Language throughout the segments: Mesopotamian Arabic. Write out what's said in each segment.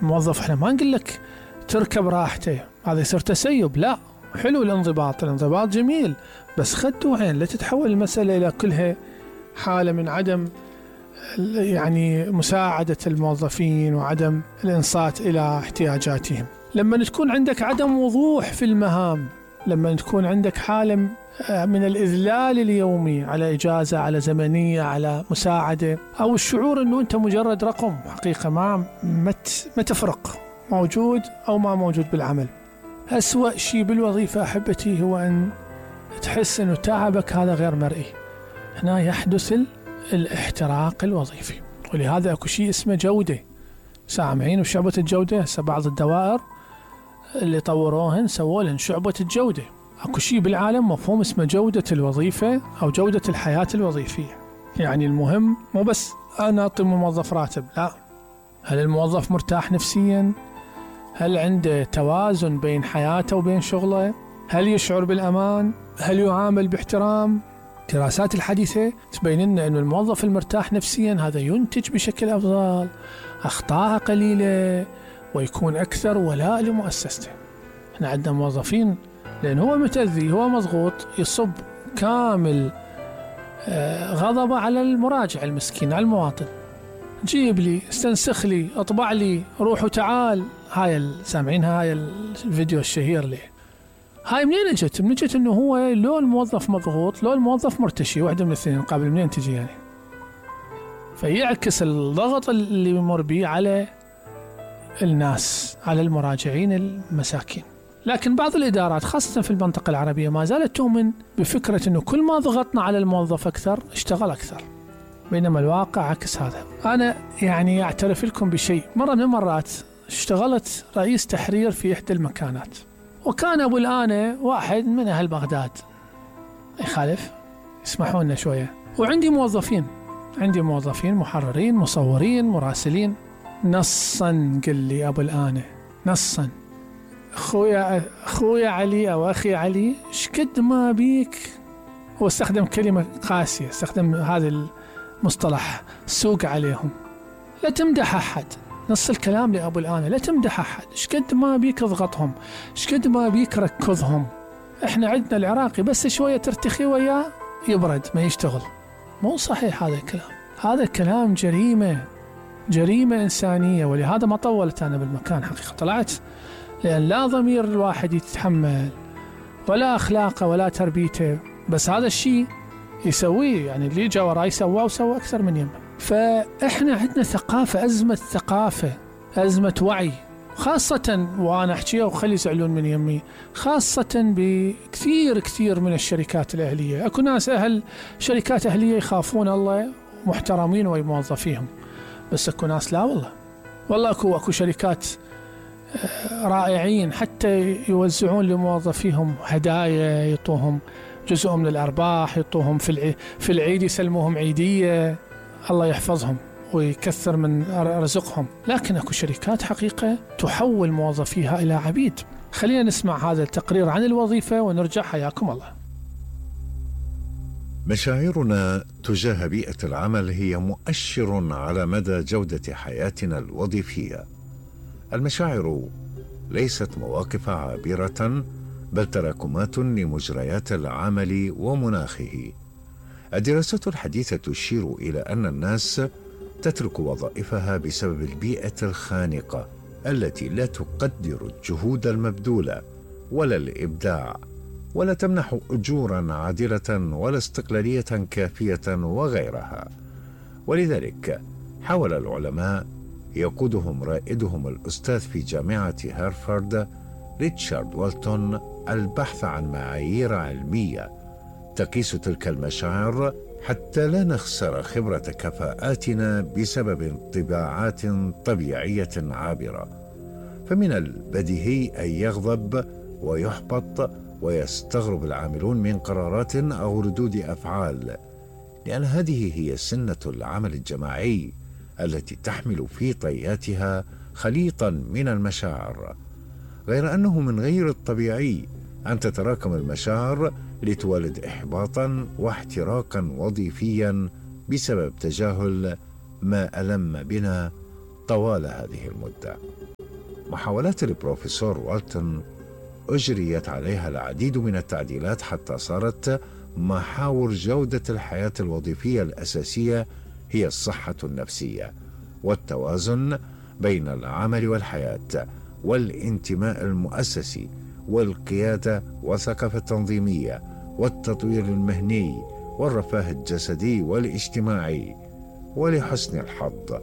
الموظف احنا ما نقول لك تركب راحته، هذا يصير تسيب. لا، حلو الانضباط جميل، بس خدوا عين لا تتحول المسألة إلى كلها حالة من عدم يعني مساعدة الموظفين وعدم الإنصات إلى احتياجاتهم. لما تكون عندك عدم وضوح في المهام، لما تكون عندك حالة من الإذلال اليومي على إجازة، على زمنية، على مساعدة، أو الشعور أنه أنت مجرد رقم حقيقة ما تفرق موجود أو ما موجود بالعمل. أسوأ شيء بالوظيفة أحبتي هو أن تحس أنه تعبك هذا غير مرئي. هنا يحدث الاحتراق الوظيفي، ولهذا أكو شيء اسمه جودة. سامعين وشعبة الجودة؟ هسه بعض الدوائر اللي طوروهن سوولهن شعبة الجودة. أكو شيء بالعالم مفهوم اسمه جودة الوظيفة أو جودة الحياة الوظيفية. يعني المهم مو بس أنا أعطي موظف راتب، لا، هل الموظف مرتاح نفسيا؟ هل عنده توازن بين حياته وبين شغله؟ هل يشعر بالأمان؟ هل يعامل باحترام؟ الدراسات الحديثة تبين لنا أن الموظف المرتاح نفسيا هذا ينتج بشكل أفضل، أخطاء قليلة، ويكون أكثر ولاء لمؤسسته. احنا عندنا موظفين لأن هو متأذي، هو مضغوط، يصب كامل غضبه على المراجع المسكين، على المواطن. جيب لي، استنسخ لي، اطبع لي، روح وتعال. هاي سامعينها، هاي الفيديو الشهير له. هاي منين اجت؟ منجت انه هو لو الموظف مضغوط لو الموظف مرتشي، واحدة من الاثنين. قابل منين تجي يعني؟ فيعكس الضغط اللي يمر به على الناس، على المراجعين المساكين. لكن بعض الإدارات خاصة في المنطقة العربية ما زالت تؤمن بفكرة أنه كل ما ضغطنا على الموظف أكثر اشتغل أكثر، بينما الواقع عكس هذا. أنا يعني أعترف لكم بشيء. مرة من المرات اشتغلت رئيس تحرير في إحدى المكانات، وكان أبو الآنة واحد من أهل بغداد، يخالف، يسمحوا لنا شوية. وعندي موظفين محررين، مصورين، مراسلين. نصا قل لي أبو الآنة، نصا، أخويا علي أو أخي علي، شكد ما بيك. هو استخدم كلمة قاسية، استخدم هذا المصطلح، سوق عليهم، لا تمدح أحد. نص الكلام لأبو الآنة، لا تمدح أحد، شكد ما بيك اضغطهم، شكد ما بيك ركضهم. احنا عندنا العراقي بس شوية ترتخي وياه يبرد ما يشتغل. مو صحيح هذا الكلام، هذا الكلام جريمة إنسانية. ولهذا ما طولت أنا بالمكان حقيقة، طلعت لأن لا ضمير الواحد يتحمل ولا أخلاقه ولا تربيته، بس هذا الشيء يسويه. يعني اللي جاء وراي سواه وسوى أكثر من يمه. فإحنا عندنا ثقافة، أزمة وعي، خاصة وأنا أحكيها وخلي يزعلون من يمي، خاصة بكثير من الشركات الأهلية. أكو ناس شركات أهلية يخافون الله محترمين وموظفيهم، بس أكو ناس لا والله أكو شركات رائعين حتى يوزعون لموظفيهم هدايا، يعطوهم جزء من الأرباح، يعطوهم في العيد يسلموهم عيدية، الله يحفظهم ويكثر من رزقهم. لكن أكو شركات حقيقة تحول موظفيها إلى عبيد. خلينا نسمع هذا التقرير عن الوظيفة ونرجع. حياكم الله. مشاعرنا تجاه بيئة العمل هي مؤشر على مدى جودة حياتنا الوظيفية. المشاعر ليست مواقف عابرة، بل تراكمات لمجريات العمل ومناخه. الدراسات الحديثة تشير إلى أن الناس تترك وظائفها بسبب البيئة الخانقة التي لا تقدر الجهود المبذولة ولا الإبداع، ولا تمنح أجورا عادلة ولا استقلالية كافية وغيرها. ولذلك حاول العلماء يقودهم رائدهم الأستاذ في جامعة هارفارد ريتشارد والتون البحث عن معايير علمية تقيس تلك المشاعر حتى لا نخسر خبرة كفاءاتنا بسبب انطباعات طبيعية عابرة. فمن البديهي أن يغضب ويحبط ويستغرب العاملون من قرارات أو ردود أفعال، لأن هذه هي سنة العمل الجماعي التي تحمل في طياتها خليطا من المشاعر، غير أنه من غير الطبيعي أن تتراكم المشاعر لتولد إحباطا واحتراقا وظيفيا بسبب تجاهل ما ألم بنا طوال هذه المدة. محاولات البروفيسور والتون أجريت عليها العديد من التعديلات حتى صارت محاور جودة الحياة الوظيفية الأساسية هي الصحة النفسية والتوازن بين العمل والحياة والانتماء المؤسسي والقيادة والثقافة التنظيمية والتطوير المهني والرفاه الجسدي والاجتماعي. ولحسن الحظ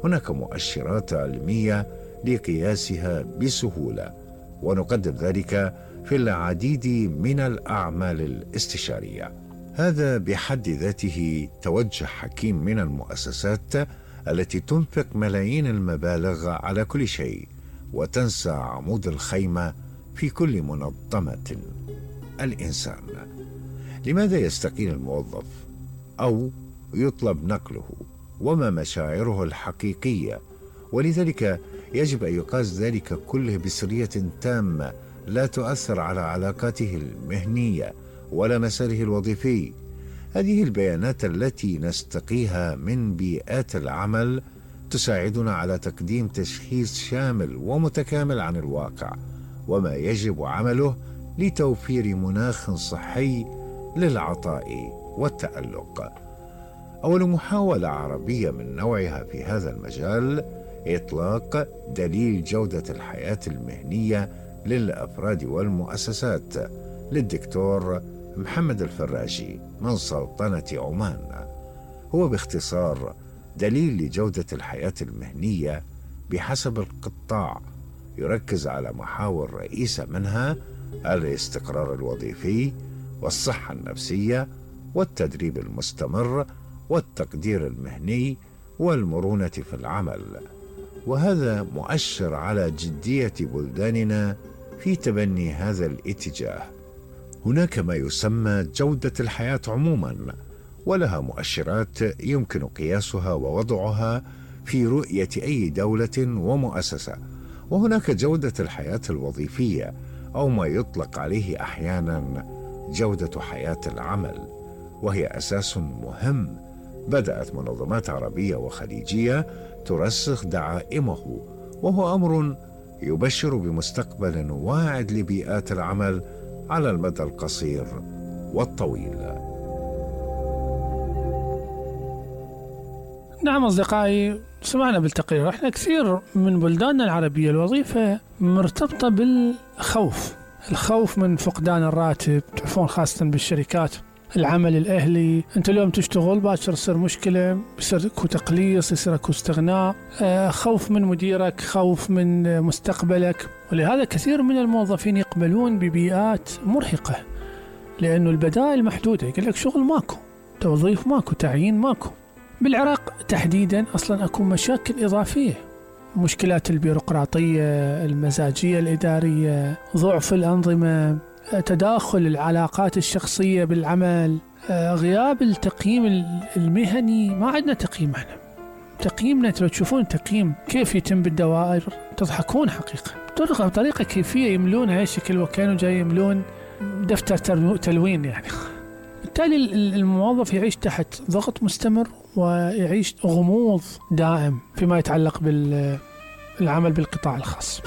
هناك مؤشرات علمية لقياسها بسهولة، ونقدم ذلك في العديد من الأعمال الاستشارية. هذا بحد ذاته توجه حكيم من المؤسسات التي تنفق ملايين المبالغ على كل شيء وتنسى عمود الخيمة في كل منظمة: الإنسان. لماذا يستقيل الموظف أو يطلب نقله؟ وما مشاعره الحقيقية؟ ولذلك يجب أن يقاس ذلك كله بسرية تامة لا تؤثر على علاقاته المهنية ولا مساره الوظيفي. هذه البيانات التي نستقيها من بيئات العمل تساعدنا على تقديم تشخيص شامل ومتكامل عن الواقع وما يجب عمله لتوفير مناخ صحي للعطاء والتألق. أول محاولة عربية من نوعها في هذا المجال إطلاق دليل جودة الحياة المهنية للأفراد والمؤسسات للدكتور محمد الفراجي من سلطنة عمان. هو باختصار دليل لجودة الحياة المهنية بحسب القطاع، يركز على محاور رئيسة منها الاستقرار الوظيفي والصحة النفسية والتدريب المستمر والتقدير المهني والمرونة في العمل. وهذا مؤشر على جدية بلداننا في تبني هذا الاتجاه. هناك ما يسمى جودة الحياة عموما، ولها مؤشرات يمكن قياسها ووضعها في رؤية أي دولة ومؤسسة. وهناك جودة الحياة الوظيفية أو ما يطلق عليه أحيانا جودة حياة العمل، وهي أساس مهم بدأت منظمات عربية وخليجية ترسخ دعائمه، وهو أمر يبشر بمستقبل واعد لبيئات العمل على المدى القصير والطويل. نعم أصدقائي، سمعنا بالتقرير احنا كثير من بلداننا العربية الوظيفة مرتبطة بالخوف، الخوف من فقدان الراتب، تعرفون خاصة بالشركات العمل الأهلي، أنت اليوم تشتغل باكر يصير مشكلة، يصير اكو تقليص، يصير اكو استغناء، خوف من مديرك، خوف من مستقبلك. ولهذا كثير من الموظفين يقبلون ببيئات مرهقة لأنه البدائل محدودة، يقول لك شغل ماكو، توظيف ماكو، تعيين ماكو. بالعراق تحديدا أصلا أكو مشاكل إضافية، مشكلات البيروقراطية، المزاجية الإدارية، ضعف الأنظمة، تداخل العلاقات الشخصية بالعمل، غياب التقييم المهني. ما عندنا تقييم، احنا تقييمنا لو تشوفون تقييم كيف يتم بالدوائر تضحكون حقيقة، بطريقة كيفية يملونها شكل وكانوا جاي يملون دفتر تلوين يعني. بالتالي الموظف يعيش تحت ضغط مستمر ويعيش غموض دائم فيما يتعلق بالعمل بالقطاع الخاص.